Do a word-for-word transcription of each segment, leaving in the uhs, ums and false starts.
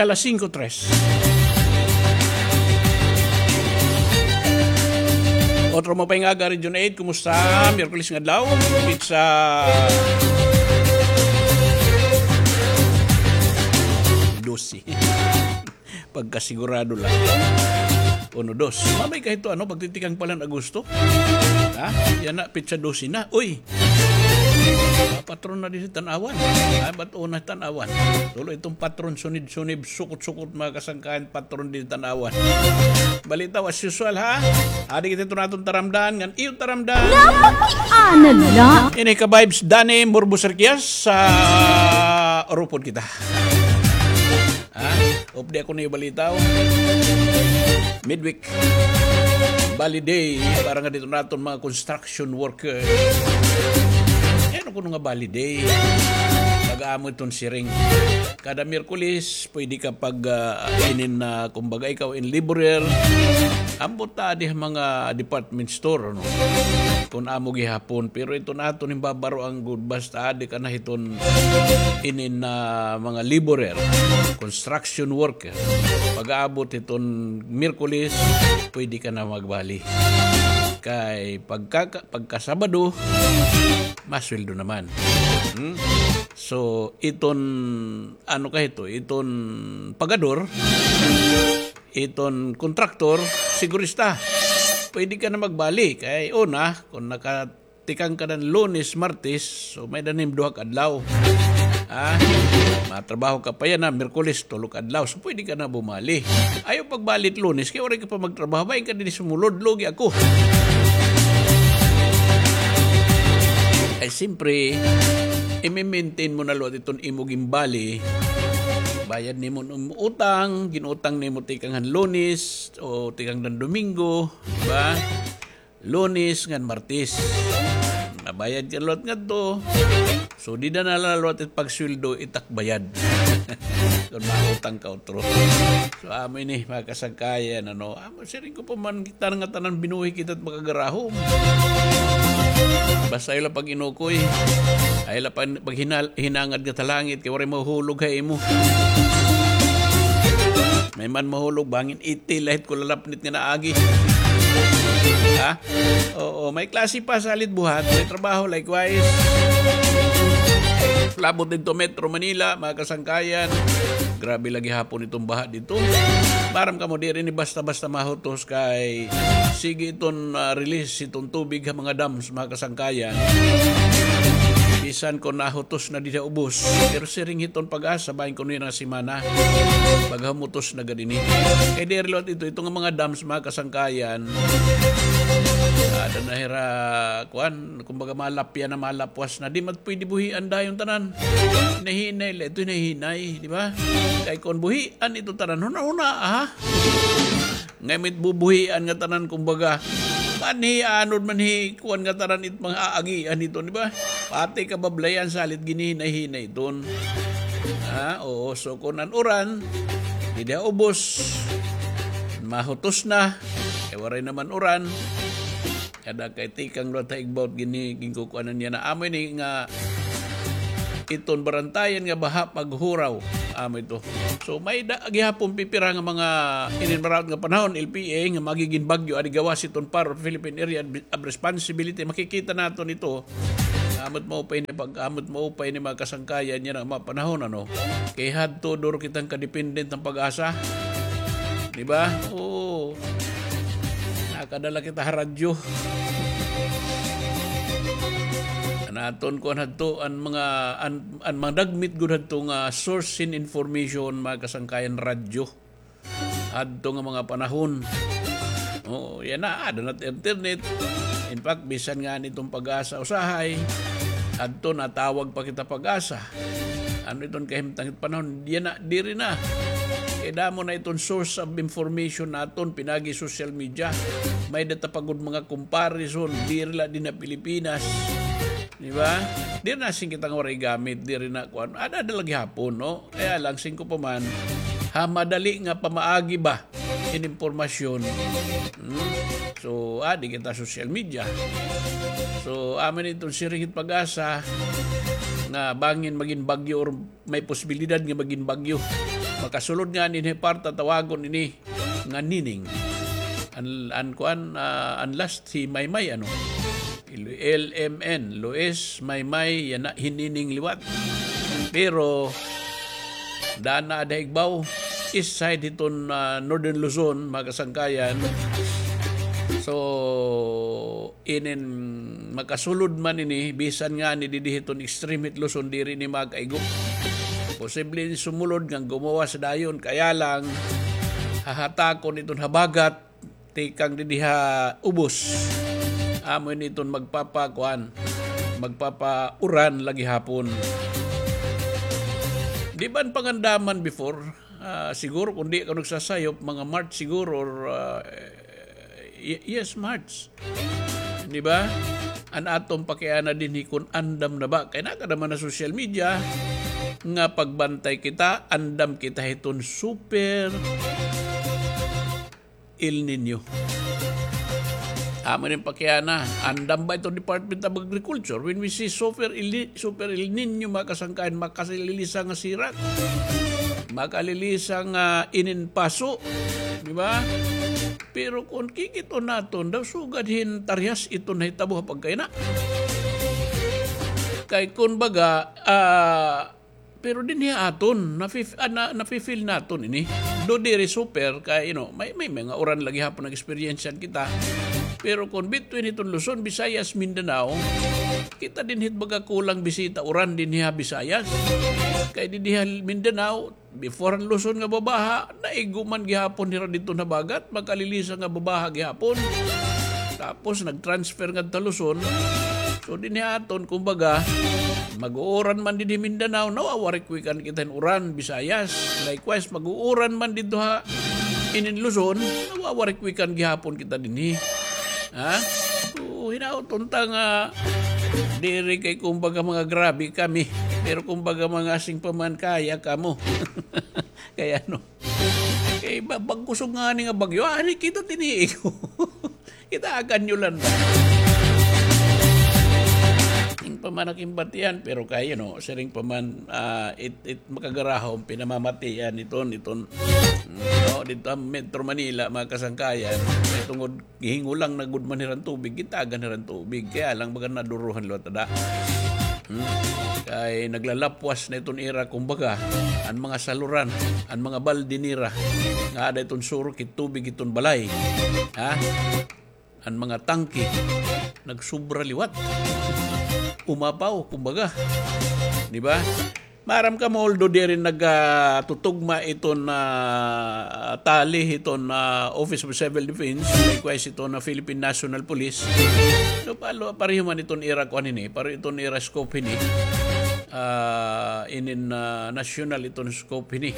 Alas singko tres. Otro mo pa yung aga, Region eight, kumusta? Miyerkules nga adlaw, pizza dose. Pagkasigurado lang. Uno, dos. Mamay kahit to, ano, pagtitikang pala ng Agosto. Ha? Yana, pizza dose na. Uy! Ah, patron na din si Tanawan. Ay, ba't una Tanawan? Tuloy itong patron, sunid-sunid, sukot-sukot, mga kasangkayan, patron din Tanawan. Balita, as usual, ha? Adi kita ito natong taramdan, ngan iyo taramdan. Napakiana la. Ini ka vibes, Danny Murbo Serquias, sa Orupod kita. Ha? Updi ako na balita, oh. Midweek. Bali day, para nga dito naton mga construction worker. Ano kuno nga bali day? Pag-amo iton siring. Kada Miyerkules, pwede ka pag, ah, inin na, kumbaga, ikaw in laborer. Ambot ta di mga department store, ano? Kung amo gihapon. Pero ito na ato, nimbabaro ang good. Basta di ka na hiton inin na mga laborer, construction worker. Pag-aabot hiton Miyerkules, pwede ka na magbali. Kay pagka, pagka Sabado, masweldo naman. Hmm? So, iton, ano ka hito, iton pagador, iton kontraktor, sigurista. Pwede ka na magbali. Kay una, kung nakatikang ka ng Lunes, Martes, so may danim duha ka adlaw. Ha? Matrabaho ka pa yana, Miyerkules, tulo ka adlaw. So, pwede ka na bumali. Ayaw pagbali Lunes, kay waray ka pa magtrabaho. Bain ka din sumulod, lugi ako. Ay, simpre, i-maintain mo na liwat iton imo ginbali. Bayad nimo an utang, gin-utang nimo tikang han Lunes o tikang han Domingo, di ba? Lunes ngan Martes. Nabayad ka liwat ngadto. So, dida na la liwat it pagsweldo, itak bayad. Kon mautang ka utro. So, amo ini, mga kasangkayan, ano, amo, siring ko pa man, kita nga tanan binuhi kita it makagarahom. Basta ayaw la pag-inukoy. Ayaw la pag, paghinal-, hinangad nga talangit, kay waray mahulog ha imo. May man mahulog, bangin iti, lahit ko lalapnit nga naagi. Ha? Oo, may klase pa, salit buhat, may trabaho, likewise. Labot didto Metro Manila, mga kasangkayan. Grabe lagi hapon itong baha dito. Maaram kamo, diri ni basta-basta mahutos kay sige iton, ah, release itong tubig ha mga dams, mga kasangkayan. Bisan kon nahutos na dida ubos, pero siring hiton PAGASA, bahin kuno yana nga semana, paghamutos na gad ini. Kay diri liwat ito, ito nga mga dams, mga kasangkayan, ada na hira, kuan, kumbaga, malapya na, malapwas na. Di man pwede buhian dayon tanan. Hinahinay la ito, hinahinay, di ba? Kay kon buhian ito tanan, huna-huna, ha? Ngay-an it bubuhian nga tanan, kumbaga, manhi, anod, manhi, kuan nga tanan it mga aagian ito, di ba? Pati kabablayan salit ginhinay-hinay iton. Ha? Oo, so kon an uran, dida ubos, mahutos na, kay waray naman uran, kada kay tikang liwat ha igbaw it gini-, ginkukuanan yana. Amo ini nga iton barantayan nga baha paghuraw. Amo ito. So, may-ada gihapon pipira nga mga ininmaraot nga panahon, L P A, nga magigin bagyo, adi gawas iton PAR, Philippine Area of Responsibility. Makikita naton ito. Amo it maupay ni pag-, amo it maupay ni mga kasangkayan yana nga mga panahon, ano. Kay hadto duro kitang kadependent han PAGASA. Di ba? Oo. Nakadala kita ha radyo. An aton kuan hadto, an mga, an, an mga dagmit gud hadto nga source hin information, mga kasangkayan, radyo. Hadto nga mga panahon. Oo, yana, ada na it internet. In fact, bisan ngani iton PAGASA usahay, hadto natawag pa kita PAGASA. Ano iton kahimtang it panahon? Yana, diri na. Kay damo na iton source of information naton, pinaagi social media. May-ada ta pa gud mga comparison, diri la dinhi ha Pilipinas. Di ba? Diri na siring kita nga waray gamit, diri na kuan. Ada-ada la gihapon, no? Kaya lang, siring ko pa man, ha madali nga pamaagi ba hin impormasyon. Hmm? So, adi kita social media. So, amo ini iton siring hit PAGASA nga bangin magin bagyo or may posibilidad nga magin bagyo. Makasulod ngani ini hi Parta, tawagon ini nga Nining. An, an kuan, ah, an last hi Maymay, ano? L M N, Luis Maymay, yana hi Nining liwat. Pero, daan na ada igbaw, east side hiton, ah, Northern Luzon, mga kasangkayan. So, inin makasulod man ini, bisan ngani didi hiton extreme hit Luzon, diri ini makaigo. Posible ini sumulod nga gumawas dayon, kaya lang, hahatakon iton habagat, tikang didi ha ubos. Amo ini iton magpapakuan, magpapauran la gihapon. Di ba an pangandaman before, ah, siguro kung di ka nagsasayop, mga March siguro or, ah, y-, yes, March. Di ba? An aton pakiana dinhi kun andam na ba. Kay nakada man ha social media nga pagbantay kita, andam kita hiton super El Niño. Amo ini an pakiana, andam ba iton Department of Agriculture? When we say super El Ni-, super El Niño, mga kasangkayan, makalilisa nga sirak. Makalilisa nga inin paso. Di ba? Pero kun kikit-on naton, daw sugad hin tarihas iton nahitabo ha pagkayana. Kay kun baga, ah, pero dinhi ha aton, nafi-, ah, na-, nafi-feel naton ini. Do diri super kay, you know, may, may mga uran la gihapon nag-experience kita. Pero kun between hiton Luzon, Visayas, Mindanao, kita dinhi baga kulang bisita uran dinhi ha Visayas. Kay dinhi ha Mindanao, before an Luzon nga babaha, naigo man gihapon hira didto ha habagat, makalilisa nga babaha gihapon. Tapos nag-transfer ngadto ha Luzon. So dinhi ha aton, kumbaga, mag-uuran man dinhi Mindanao, nawawarikwikan kita hin uran, Visayas. Likewise, mag-uuran man didto ha inin Luzon, nawawarikwikan gihapon kita dinhi. Ha? So, hinaot unta nga diri kay kumbaga mga grabe kami. Pero kumbaga mga sing pa man kaya kamo. Kay ano? Kay ba-, bag-o kusog ngani nga bagyo. Ah, ani kita tiniig. Kita akan yulan ba? Sing pa man ak imbatian, pero kay, you know, siring pa man, ah, it, it makagarahom, pinamamatian iton, iton, mm, no, didto ha Metro Manila, mga kasangkayan, kay tungod gihingulang na gud man hiran tubig, gitagan hiran tubig. Kaya lang baga naduruhan liwat ada. Hmm? Kay naglalapwas na iton ira, kumbaga, an mga saluran, an mga balde nira, nga ada iton surok hit tubig iton balay. Ha? An mga tangke, nagsubra liwat. Umapaw, kumbaga. Di ba? Maaram kamo, although diri nag, ah, tutugma iton, ah, tali hiton, ah, Office of Civil Defense, likewise iton, ah, Philippine National Police. So, palo-, pareho man iton ira kuan ini, pareho iton ira scope ini. Ah, inin, ah, national iton scope ini.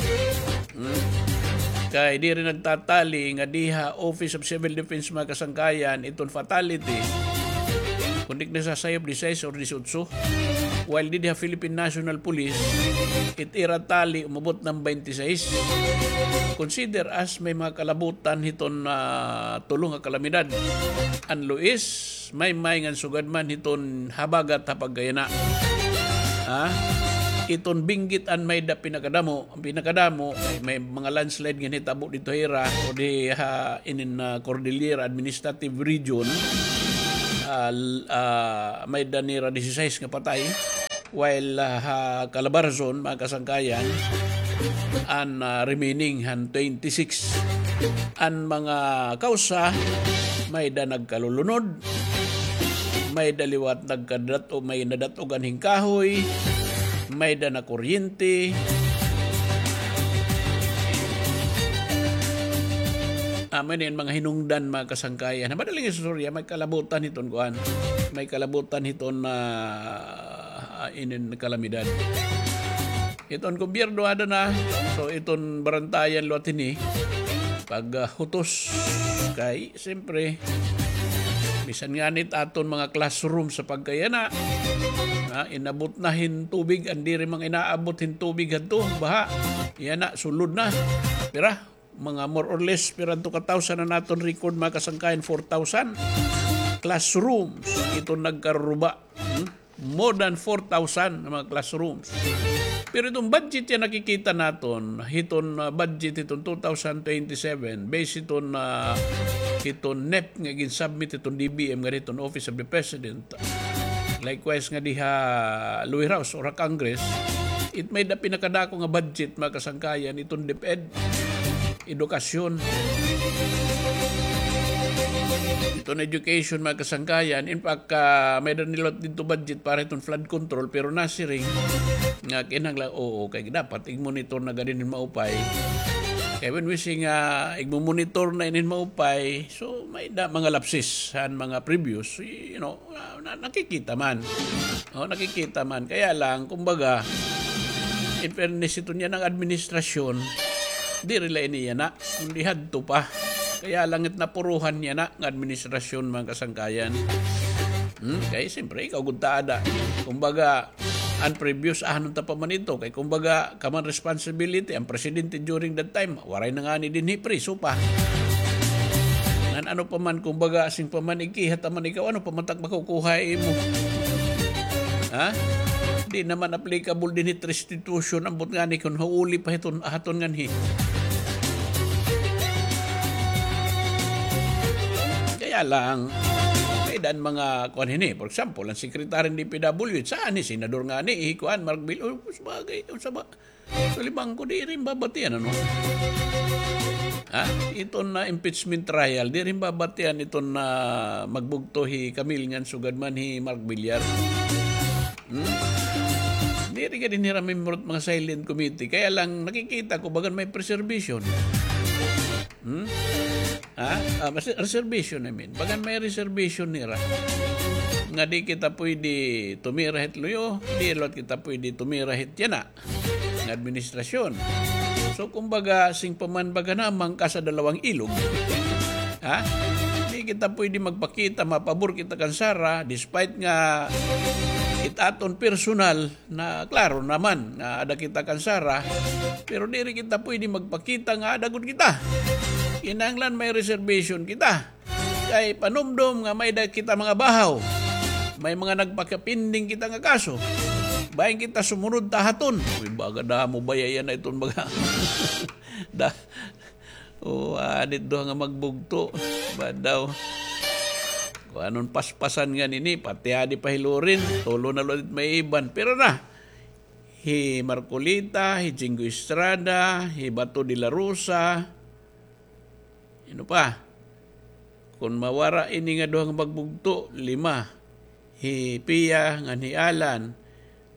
Hmm? Kay diri nagtatali nga diha Office of Civil Defense, mga kasangkayan, iton fatality, kun di ak nasasayop, disisais or disotso. While didi ha Philippine National Police, it ira tali umabot na hin baynte sais. Consider as may mga kalabutan hiton, ah, tulo nga kalamidad. An Luis, Maymay ngan sugad man hiton habagat ha pagkayana. Ha? Iton Benguet an may-ada pinakadamo, An pinakadamo, may, may mga landslide nga nahitabo didto ha ira o di ha inin, ah, Cordillera Administrative Region, ah, l-, ah, may-ada nira disisais nga patay, while, ah, ha Calabarzon, mga kasangkayan, an, ah, remaining han twenty-six. An mga kawsa, may-ada nagkalulunod, may-ada liwat nagkadat-, o may nadat-ogan hin kahoy, may-ada nakuryente. Amo ini an mga hinungdan, mga kasangkayan. Ha madaling istorya, may kalabutan hiton kuan. May kalabutan hiton, ah, inin kalamidad. Iton gobyerno ada na. So, iton barantayan liwat hini. Pag, ah, hutos kay, siyempre, bisan ngani it aton mga classroom sa pagkayana, ah, inabot na hin tubig, an diri man inaabot hin tubig hadto, baha. Yana, sulod na. Pira? Mga more or less, pira adto ka thousand an aton record, mga kasangkayan, four thousand classrooms. Iton nagkaruba. Hmm? More than four thousand na mga classrooms. Pero iton budget nga nakikita naton, hiton, ah, budget hiton two thousand twenty-seven, based hiton, ah, hiton NEP nga gin-submit hiton D B M nga hiton Office of the President. Likewise nga diha lower house or ha Congress, it may-ada pinakadako nga budget, mga kasangkayan, iton DepEd, edukasyon. Iton education, mga kasangkayan. In fact, ah, may-ada nilot didto budget para iton flood control, pero nasiring nga kinahanglan, oo, kay dapat igmonitor na gad ini hin maupay. Kay when we say nga igmomonitor na ini hin maupay, so may-ada mga lapses han mga previous, you know, ah, na-, nakikita man. Oh, nakikita man. Kaya lang, kumbaga, in fairness, ito niya ng administrasyon, diri la ini yana, kundi hadto pa. Kaya lang it napuruhan yana nga administrasyon, mga kasangkayan. Hmm? Kay, siyempre, ikaw gud ta ada. Kumbaga, an previous, ahanon ta pa man ito. Kay, kumbaga, common responsibility, an presidente during that time, waray na ngani dinhi, priso pa. Ngan ano pa man, kumbaga, asing pa man, ikiha ta man ikaw, ano pa man tak makukuha imo? Ha? Di naman applicable dinhi it restitution, ambot ngani kon hauli pa hiton aton nganhi. Kaya lang, may-ada an mga kuan hini. For example, an secretary hin D P W H, saan ni senador ngani, hi kuan, Mark Vil-, oh, sabagay, oh, saba-, Talibhangco, diri hin babatian, ano? Ha? Iton, ah, impeachment trial, diri hin babatian iton, ah, magbugto hi Camille ngan sugad man hi Mark Villar. Hmm? Diri gad hira miyembro hit mga silent committee. Kaya lang nakikita ko bagan may preservation. Hmm? Ha? Ah, mas-, reservation, I mean. Bagan may reservation nira. Nga di kita pwede tumira hit luyo, di liwat kita pwede tumira hit yana nga administrasyon. So, kumbaga, sing pa man baga namang ka sa dalawang ilog. Ha? Di kita pwede magpakita, mapabor kita kan Sara, despite nga it aton personal na, klaro naman, nga ada kita kan Sara, pero diri kita pwede magpakita nga ada gud kita. Kinahanglan may reservation kita. Kay panumdom nga may-ada kita mga bahaw. May mga nagpakapinding kita nga kaso. Bahin kita sumunod ta haton. Uy, baga damo baya yana iton baga. Da-, o, anit duha nga magbugto. Ba daw. Kuanon paspasan ngani ini, pati adi pa hi Loren. Tulo na liwat it may iban. Pero na, hi Marcoleta, hi Jinggoy Estrada, hi Bato de la Rosa, Ano pa? Kon mawara ini nga duha nga magbugto, lima. Hi Pia ngan hi Alan.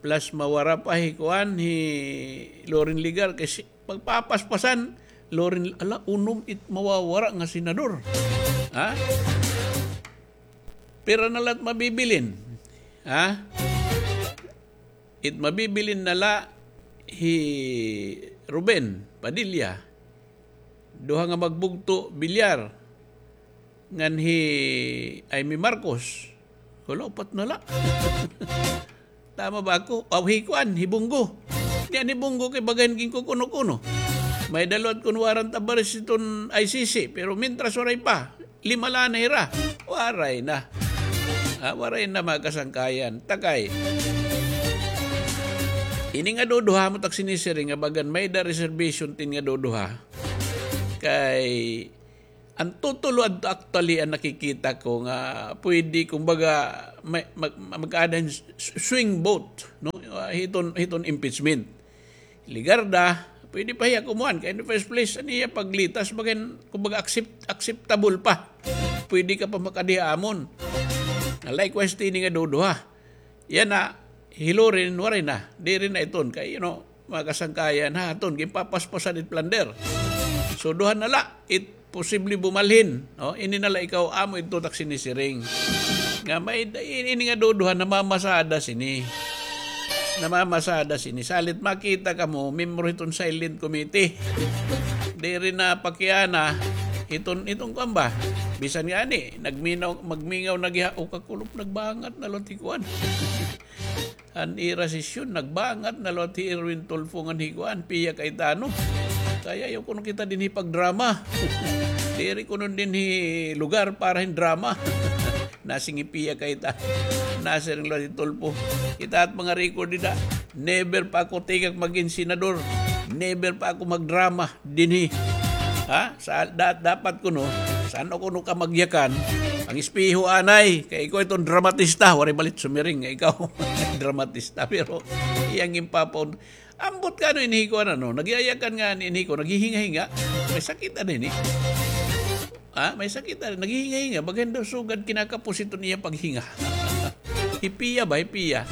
Plus mawara pa hi kuan, hi Loren Legarda. Kay si-, magpapaspasan, Loren, ala, unom it mawawara nga senador. Ha? Pira na la it mabibilin? Ha? It mabibilin na la hi Ruben Padilla. Duha nga magbugto, Villar. Ngan hi Imee Marcos. Wala, upat na la. Tama ba ako? Aw, hi kuan, hi Bong Go. Niyan hi Bong Go kay bagan ginkukuno-kuno. May-ada liwat kon warrant of arrest iton I C C, pero mintras waray pa. Lima la na hira. Waray na. Ah, waray na, mga kasangkayan. Takay. Ini nga duduha mo tak sinisiring nga bagan may-ada reservation tin nga duduha. Kay an tutulo adto actually an nakikita ko nga pwede, kumbaga, may, mag-, mag-aada hin s-, swing vote, no? Ah, hiton, hiton impeachment. Legarda, pwede pa hiya kumuan. Kay in the first place, an iya paglitas, bagan, kumbaga, accept-, acceptable pa. Pwede ka pa makadi ha amon. Likewise, tini nga duduha. Yana, hi Loren, waray na. Diri na iton. Kay, you know, mga kasangkayan, ha, aton, ginpapaspasan it plunder. So, duha na la, it posible bumalhin, no? Ini na la ikaw, amo ito tak sinisiring. Nga may, ini nga duduha, namamasada sini. Namamasada sini. Salit makita kamo, miyembro hiton silent committee. Diri na pakiana, hiton, hiton kuan ba? Bisan ngani, nagminaw, magmingaw na giha, o kakulop, nagbangat na liwat hi kuan. An ira sesyon, nagbangat na liwat hi Erwin Tulfo ngan hi kuan, Pia Cayetano. Kay ayaw kuno kita dinhi pagdrama. Diri kuno dinhi lugar para hin drama. Nasiring hi Pia Cayetano. Nasiring liwat hi Tulfo. Kita it mga record dida. Never pa ako tigak magin senador. Never pa ako magdrama dinhi. Ha? Sa, da, dapat kuno, san-o kuno ka magyakan? Ang espeho anay, kay ikaw iton dramatista, waray balit sumiring nga ikaw dramatista, pero iyang impapon. Ambot ka ano inhi ko, ano, nagyayakan nga inhi ko, naghihinga-hinga. May sakit na din eh. Ha? May sakit na din. Naghihinga-hinga. Bagan daw sugad kinakapos iton iya paghinga. Hipiya ba? Hipiya.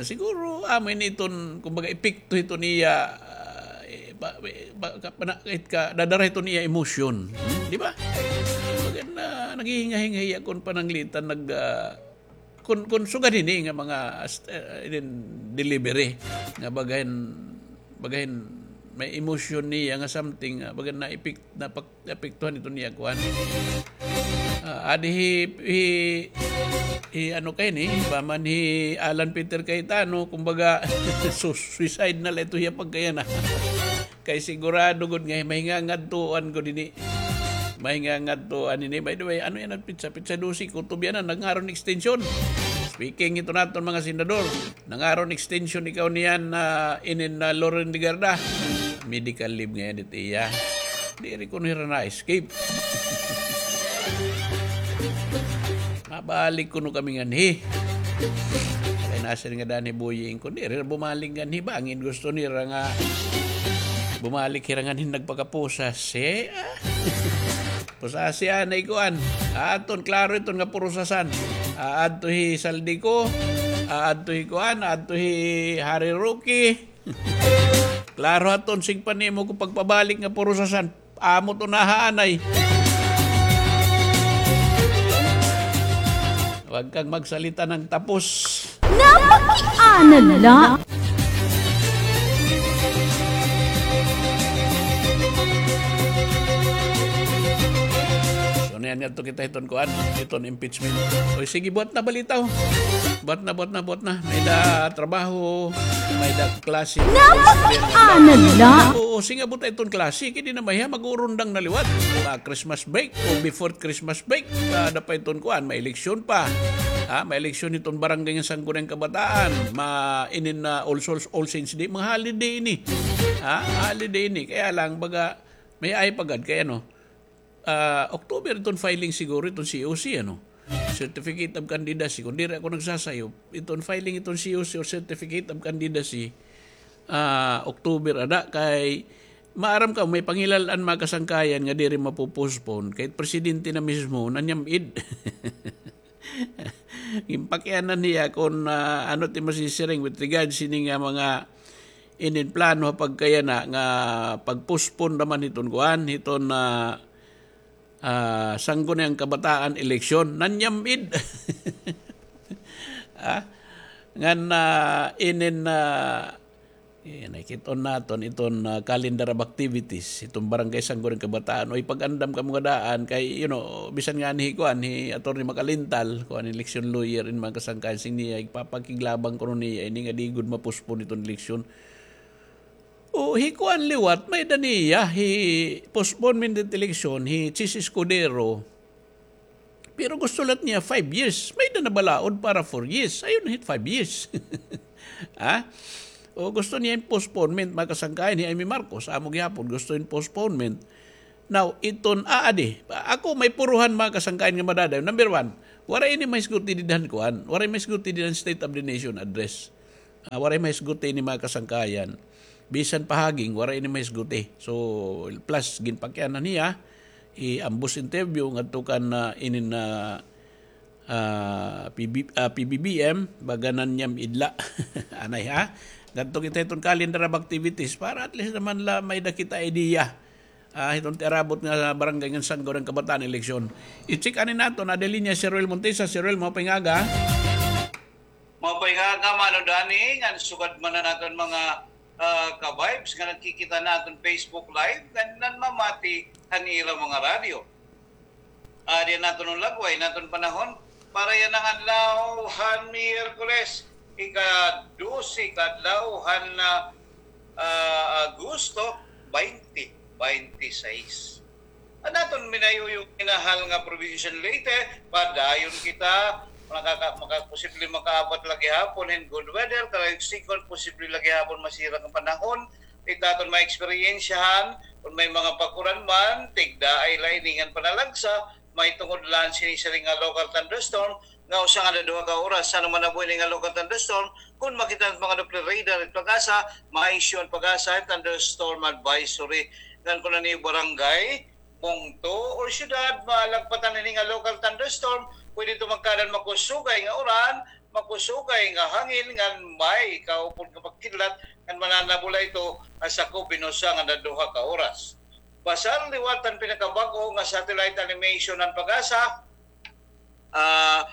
Siguro, amo ini iton, kumbaga, epekto iton iya, ah, eh, ba, ba, ba, ka, pana, kahit ka, dadara iton iya emosyon. Hmm? Di ba? Bagan na, naghihinga-hinga iya kon pananglitan, nag, ah, Kun, kun sugad hini nga mga ast-, eh, inin delivery nga bagahin, bagahin may emotion niya nga something nga bagan na epek-, napak-, naapektuhan ito niya kuan. Ah, adi hi, hi, hi ano kay ni, paman hi Alan Peter Cayetano, kumbaga, su-, suicide na la ito hiya pagkayana. Kay sigurado gud nga mahingangadtuan gud ini. Mahingangadtuan ini. By the way, ano yana nga petsa? Petsa dose, kutob yana, nangaron extension. Speaking ito naton mga senador, nangaron extension ikaw niyan na inin na Loren Legarda. Medical leave ngay-an it iya. Diri kuno hira na-escape. Mabalik kuno kami nganhi. Kay nasiring ngada hi Boying kon diri na bumalik nganhi, bangin gusto nira nga bumalik hira nganhi nagpakapusas. Eh, ah. Pusasi anay kuan. Aton klaro iton nga purusasan. Aadto hi Zaldy Co, aadto hi kuan, aadto hi Harry Roque. Klaro aton sigpa nimo kon pagpabalik nga purusasan. Amo to nahaanay. Huwag kang magsalita ng tapos. Napakiana la. So, niyan ngadto kita hiton kuan, hiton impeachment. Oy, sige, buhat na balitaw. Buhat na, buhat na, buhat na. May-ada trabaho, may-ada klase. Napakiana la. Oo, sige, buhat na iton klase. Kay di na mahiya, mag-urundang na liwat. Ma-Christmas break o before Christmas break. Kada pa iton kuan, may eleksyon pa. Ha, may eleksyon iton barangay nga Sangguniang Kabataan. Ma-, inin na All Souls, All Saints Day. Mga holiday ini. Ha, holiday ini. Kaya lang, baga, may-ada pa gad kay ano, ah, October iton filing siguro iton C O C, ano? Certificate of Candidacy. Kon diri ako nagsasayop, iton filing iton C O C or Certificate of Candidacy, ah, October ada kay maaram ka, may pangilal-an mga kasangkayan nga diri mapo-postpone. Kay presidente na mismo, nanyam-id. Ginpakianan hiya kon, ah, ano ti masisiring with regards sini nga mga inin plano ha pagkayana nga pag-postpone naman hiton kuan, hiton, ah, ah, Sangguniang Kabataan eleksyon. Nanyam-id. Ah, ngan, ah, inin, ah, Eh, nakit-on naton iton, ah, calendar of activities, iton Barangay Sangguniang Kabataan. Oy, pag-andam kamo nga daan kay, you know, bisan ngani hi kuan, hi Attorney Macalintal, kuan, election lawyer, in mga kasangkayan, siring niya, igpapakiglabang kuno niya ini nga di gud ma-postpone iton eleksyon. O, hi kuan liwat, may-ada niya, hi postponement it election, hi Chiz Escudero. Pero gusto la niya five years. May-ada nabalaod para four years. Ayaw na hit five years. Ha? O gusto niya in postponement, mga kasangkayan, hi Imee Marcos, amo gihapon, gusto in postponement. Now, iton, ah, adi, ako may puruhan, mga kasangkayan, nga madadayon. Number one, waray ini mahisgot dida han kuan. Waray mahisgot dida han State of the Nation address. Ah, waray mahisgot ini, mga kasangkayan. Bisan pa hagin, waray ini mahisgot. So, plus, ginpakianan niya, hi ambos interview ngadto kan, ah, inin, ah, ah, P B, ah, P B B M, baga nanyam-id la. Anay, ha? Ngadto kita hiton calendar of activities para at least naman la may-ada kita idea. Ah, hiton tiarabot nga barangay ngan Sangguniang Kabataan eleksyon. I-check anay naton, naada ha linya si Roel Montesa. Si Roel, maupay nga aga. Maupay nga aga, Mano Danny, ngan sugad man han aton mga, ah, ka-vibes nga nagkikita han aton Facebook Live, ngan nanmamati han ira mga radyo. Adi an aton lagway han aton panahon para yana nga adlaw han Miyerkules, ika-dose ka adlaw han, ah, ah, Agosto, baynte baynte sais. An aton minayuyong minahal nga probinsya han Leyte, padayon kita, Makaka-, maka-, posible makaabot la gihapon hin good weather, karuyag sigon, posible la gihapon masira an panahon. Ita aton maeksperiensyahan, kon may mga pag-uran man, tigdaay la ini ngan panalagsa, mahitungod la sini siring nga local thunderstorm, nga usa nga duha ka oras, ano man nabuhi ini nga local thunderstorm, kon makita han mga Doppler radar, it PAGASA, ma-issue an PAGASA, thunderstorm advisory. Ngan kon ano it barangay, bungto or syudad, malagpatan ini nga local thunderstorm, pwede ito magkaada hin makusugay nga uran, makusugay nga hangin, ngan may kaupod nga pagkidlat, ngan mananabo la ito ha sakop hin usa ngan duha ka oras. Basal liwat han pinakabag-o nga satellite animation han PAGASA, ah,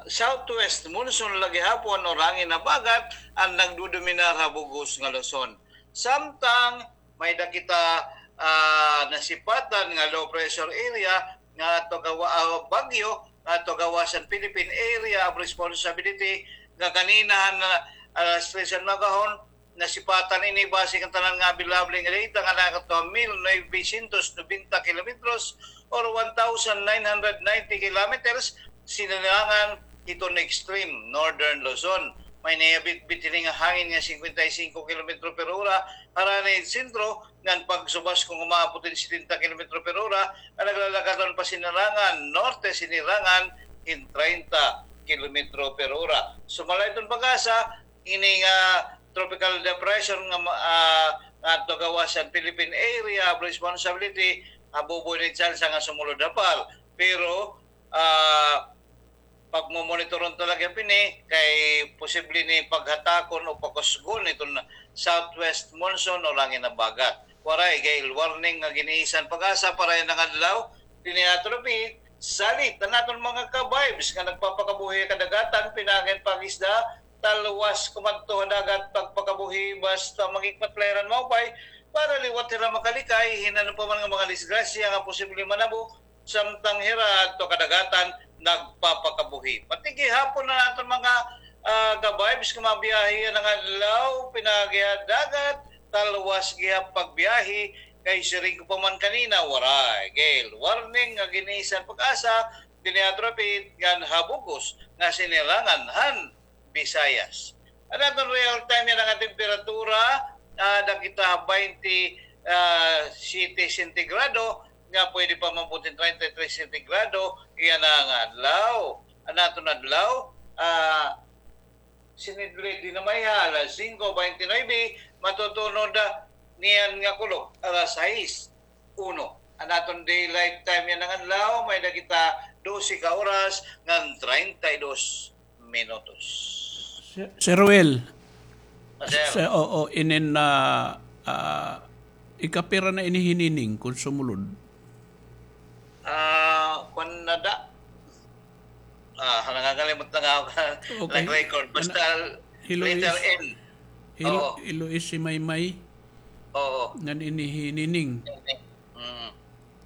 southwest monsoon la gihapon or hangin habagat an nagdodominar ha bug-os nga Luzon. Samtang may-ada kita, ah, nasipatan nga low pressure area nga ato gawa-, ah, bagyo nga ato gawas han Philippine Area of Responsibility nga kanina han, ah, alas tres han maagahon, nasipatan ini base kan tanan nga available nga data nga nakato ha mil novecientos nobenta kilometros or one thousand nine hundred ninety kilometers, sinirangan hiton extreme northern Luzon. May nahibitbit hini nga hangin nga singkwenta y singko kilometro per ora harani hin sentro, ngan pagsubas kon umaabot hin setenta kilometro per ora, nga naglalakaton pa sinirangan norte, sinirangan hin treinta kilometro per ora. Sumala hiton PAGASA, ini nga tropical depression nga ma-, ah, nga ato gawas han Philippine Area of Responsibility, habubo ini tsansa nga sumulod ha PAR. Pero, ah, pagmomonitoron talaga hini kay posible ini paghatakon o pakusgon hiton southwest monsoon o hangin habagat. Waray, gale warning nga gin-iisyu han PAGASA para yana nga adlaw. Dinhi ato repeat, salit an aton mga ka-vibes nga nagpapakabuhi ha kadagatan, pinaagi han pag-isda, talwas kumadto ha dagat pagpakabuhi basta maghikmat la hira hin maupay para liwat hira makalikay hin ano pa man nga mga disgrasya nga posible manabo samtang hira adto kadagatan nagpapakabuhi. Pati gihapon an aton mga, ah, ka-vibes nga mabiyahe yana nga adlaw, pinaagi ha dagat, talwas gihap pagbiyahe, kay siring ko pa man kanina, waray gale warning nga gin-iisyu han PAGASA, dinhi ato repeat, ngan ha bug-os nga sinirangan han Visayas. An aton real time yana nga temperatura, ah, nakita baynte, ah, siyete sentigrado, nga pwede pa maabot hin treinta y tres sentigrado yana nga adlaw. An aton adlaw, ah, sinidlid dinhi ha alas singko baynte nuwebe, matutunod, ah, niyan nga kulop alas sais uno. An aton daylight time yana nga adlaw, may-ada kita dose ka oras ngan treinta y dos minutos. Sir, Sir Will. Ah, sir. Sir, oo, inin na, ah, ikapira na ini hinining kon sumulod? Ah, kuan na da. Ah, nangakalimot na nga ako. Okay. Nag-record. Basta letter N. Hilo-, oo. Hilois, hi Maymay. Oo. Ngan ini hi Nining. Mm.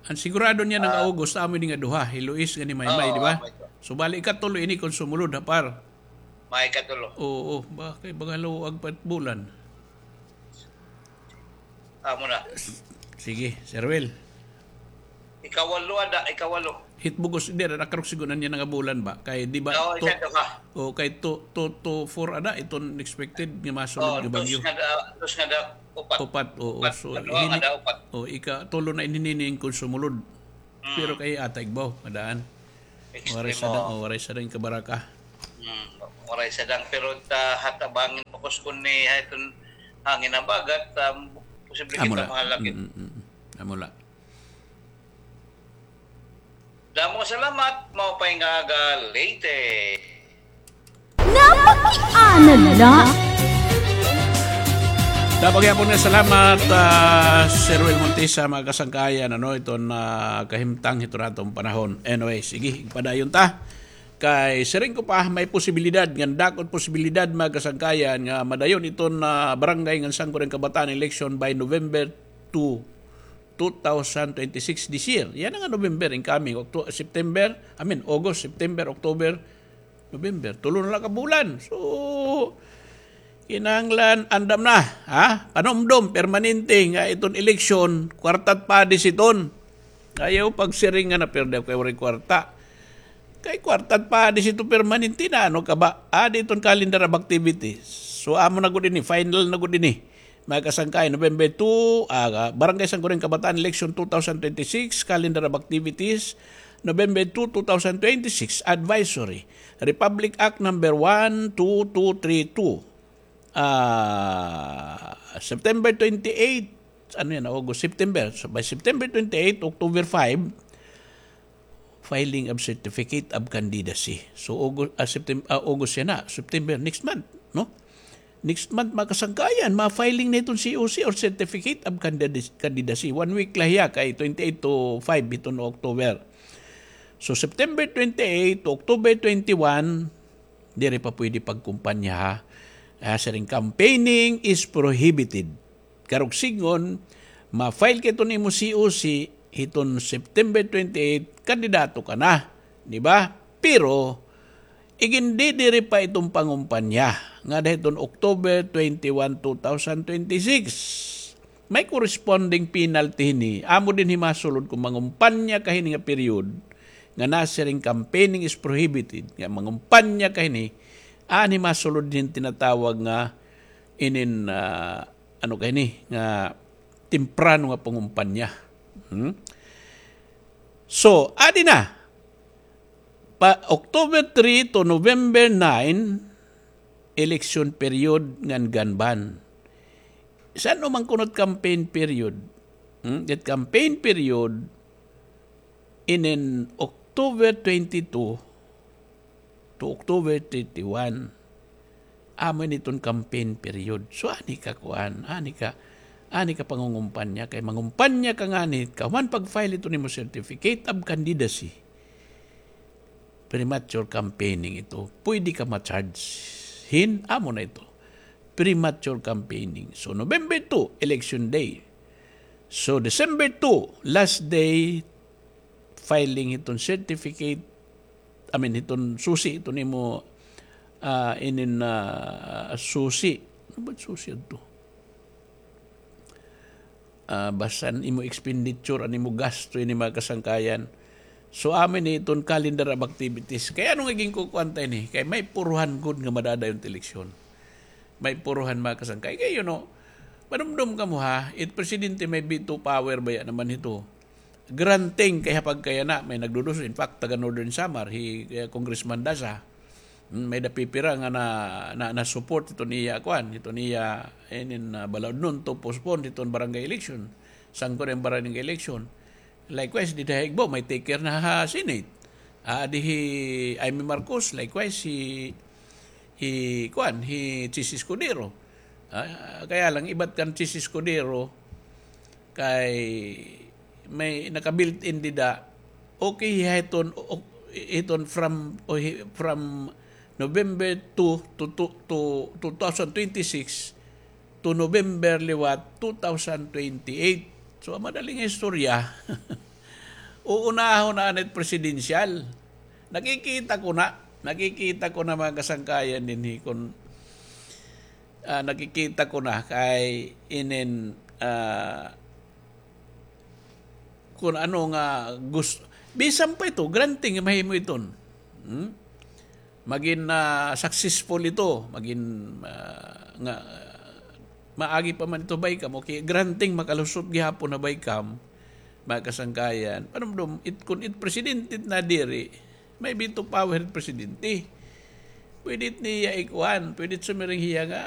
An sigurado niya nga August, amo ini nga duha, hi Luis ngan hi Maymay, di ba? Oo, amo ito. So, bali, ikatulo ini kon sumulod, ha, par? May ikatulo. Oo, ba, kay baga luag pa it bulan. Amo na. Sige, Sir Will. Ikawalo ada, ikawalo. Hit bug-os, di, ada karuyag sigon an yana nga bulan ba? Kay, di ba, oo, two, ikaduha. O, kay two, two to four ada, iton expected nga masunod nga bagyo. Oo, dos nga da-, dos nga da-, upat. Upat, oo. Upat, so, ikatulo na ini kon sumulod. Mm. Pero kay ata igbaw, madaan. Extremo. Waray sadang, o, waray sadang kabaraka. Mm, waray sadang, pero ta, hatabangin pa kuskon ni, ha, iton hangin habagat, um, posible kita mahalakit. Mm, mm, mm. Amo la. Damo nga salamat, maupay nga aga, Leyte. Napakiana la. Damo gihapon nga salamat, ah, Sir Will Montesa, mga kasangkayan, ano, iton, ah, kahimtang hiton aton panahon. Anyway, sige, igpadayon ta. Kay siring ko pa, may posibilidad, ngan dako it posibilidad, mga kasangkayan, nga madayon iton, ah, barangay ngan sangguniang kabataan election by November two, two thousand twenty-six, this year. Yana nga November, incoming, Octo-, September, I mean, August, September, October, November. Tulo na la ka bulan. So, kinahanglan, andam na, ha? Panumdom, permanente, nga iton eleksyon, kwarta it padi iton. Ayaw pagsiring nga napirdi ako kay waray kwarta. Kay kwarta pa, adi ito permanente na, ano ka ba? Adi iton calendar of activities. So, amo na gud ini, final na gud ini. Mga kasangkayan, November two, ah, Barangay Sangguniang Kabataan Election two thousand twenty-six, calendar of activities, November two, two thousand twenty-six, advisory. Republic Act number one two two three two. Ah, September twenty-eight, ano yan, August, September. So, by September twenty-eight, October five, filing of certificate of candidacy. So, August, ah, September, ah, August yan na, September, next month, no? Next month, mga kasangkayan, ma-filing na iton C O C or certificate of candid-, candidacy. One week la hiya, kay twenty-eight to five iton October. So, September twenty-eight to October twenty-one, diri pa pwede pagkumpanya, ha. Ah, siring, campaigning is prohibited. Karuyag sidngon, ma-file ka iton imo C O C hiton September twenty-eight, kandidato ka na, di ba? Pero, igindidiri pa iton pangumpanya ngada hiton October twenty-one, two thousand twenty-six. May corresponding penalty hini. Amo dinhi masulod kon mangumpanya ka hini nga period nga nasiring campaigning is prohibited, nga mangumpanya ka hini, anhi masulod hin tinatawag nga inin, ah, ano ka hini, nga temprano nga pangumpanya. Hmm? So, adi na. Pa October three to November nine, election period ngan gun ban. San-o man kuno it campaign period? Hmm? It campaign period, inin October twenty-two to October thirty-one. Amo ini iton campaign period. So, ani ka kuan, ani ka, ani ka pangungumpanya, kay mangumpanya ka ngani, kahuman pag-file iton imo certificate of candidacy. Premature campaigning ito. Pwede ka ma-charge hin, amo na ito. Premature campaigning. So, November two, election day. So, December two, last day, filing hiton certificate, I mean, hiton susi, hiton imo, ah, inin, ah, susi. Ano ba susi adto? Ah, basta an imo expenditure, an imo gasto, ini mga kasangkayan. So, amo ini iton calendar of activities. Kay ano nga ginkukuan ta ini? Kay may puruhan gud nga madadayon it eleksyon. May puruhan, mga kasangkay. Kay, you know, madumdum kamo, ha, it presidente may veto power baya naman hito. Granting kay ha pagkayana, may nagduduso. In fact, taga Northern Samar, hi, eh, Congressman Daza, mm, may-ada pipira nga na, na, na-support hiton iya, kuan, hiton iya, inin, ah, balaudnon to postpone hiton barangay election. Sangkot an barangay election. Likewise, dida ha Igbo, may take care na ha Senate. Ah, di hi Imee Marcos, likewise, hi, hi, kuan, hi Chiz Escudero. Ah, kaya lang, ibat kan Chiz Escudero, kay may naka-built-in dida, okay, hiton, o, hiton from, o, hi-, from November two to, to, to two thousand twenty-six to November liwat two thousand twenty-eight. So, an madali nga istorya, uunahon na anay it presidential. Nakikita ko na, nakikita ko na, mga kasangkayan, dinhi kon, ah, nakikita ko na kay inin, ah, kon ano nga gus-, bisan pa ito, granting nga mahimo iton. Hmm? Magin, ah, successful ito, magin, ah, nga, maagi pa man ito BICAM, okay, granting makalusot gihapon ha BICAM, mga kasangkayan. Panumdom, it, kon it presidente it nadiri, may veto power it presidente. Pwede it niya ikuan, pwede it sumiring hiya nga,